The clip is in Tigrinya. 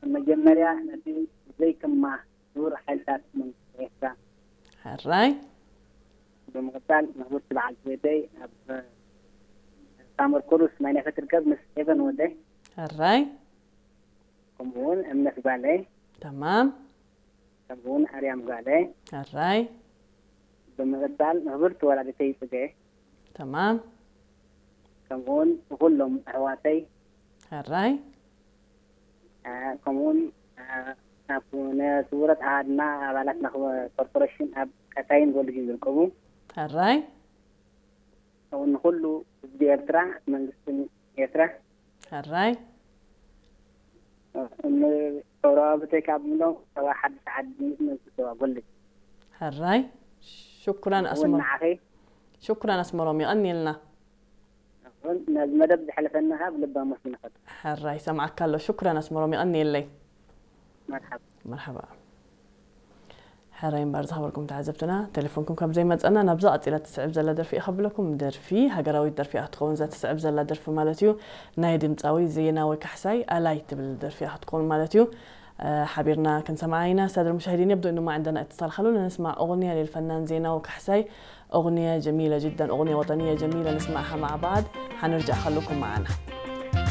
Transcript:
መጀመርያ ነቲ ዘይክማ ዙር ሓይልታት መንግስቲ ኤርትራ፣ ሕራይ ብምቕጻል ንኽብርቲ በዓልቲ ቤተይ ኣብ ሳመር ኮሩስ ማይናፈ ትርከብ ምስ ኤቨን ወደይ፣ ሕራይ ከምኡ እውን እምነት ጓለይ፣ ተማም ከምኡ እውን ኣርያም ጓለይ፣ ሕራይ ብምቕጻል ንኽብርቲ ወላዲተይ ጽገ፣ ተማም ከምኡ እውን ንኩሎም ኣሕዋተይ፣ ሕራይ ከምኡ እውን ናብ ንስውረት ኣሃድና ኣባላት ኮርፖሬሽን ኣብ ቀታይን ጎልጊን ዝርከቡ፣ ሕራይ ከምኡ ንኩሉ ህዝቢ ኤርትራ፣ መንግስትን ኤርትራ፣ ሕራይ ንተረባብተይ ካብ ምሎም ሰባ ሓድሽ ዓዲ ንዝተዋ ጎልጊ። ሕራይ ሽኩራን እውን ኣስመ ንዓኺ ሽኩራን ኣስመሮም የቐንየልና። እውን ነዚ መደብ ዝሓለፈና ካብ ልባ መስግነኸት። ሕራይ ሰምዓካ ኣሎ። ሽኩራን ኣስመሮም የቐንየለይ። መርሓባ። መርሓባ። ሕራይ እምበር ዝኸበርኩም ተዓዘብትና፣ ቴሌፎንኩም ከም ዘይመጸና ናብዛ ቀጺላ ትስዕብ ዘላ ደርፊ እየ ከብለኩም። ደርፊ ሃገራዊት ደርፊ እያ ክትኸውን እዛ ትስዕብ ዘላ ደርፊ ማለት እዩ። ናይ ድምጻዊ ዜናዊ ካሕሳይ ኣላይ ትብል ደርፊ እያ ክትከውን ማለት እዩ። ሓቢርና ክንሰምዓ ኢና። ሳድር ሙሻሂዲን የብዶ እንማ ዕንደና እትሳልኸሉ ንስማዕ ኦቕንያ ሌልፈናን ዜናዊ ካሕሳይ ኦቕንያ ጀሚለ ጅዳን ኦቕንያ ወጠንያ ጀሚለ ንስማዕሃ ማዕ ባዕድ ሓነርጃ ከሉኩም መዓና።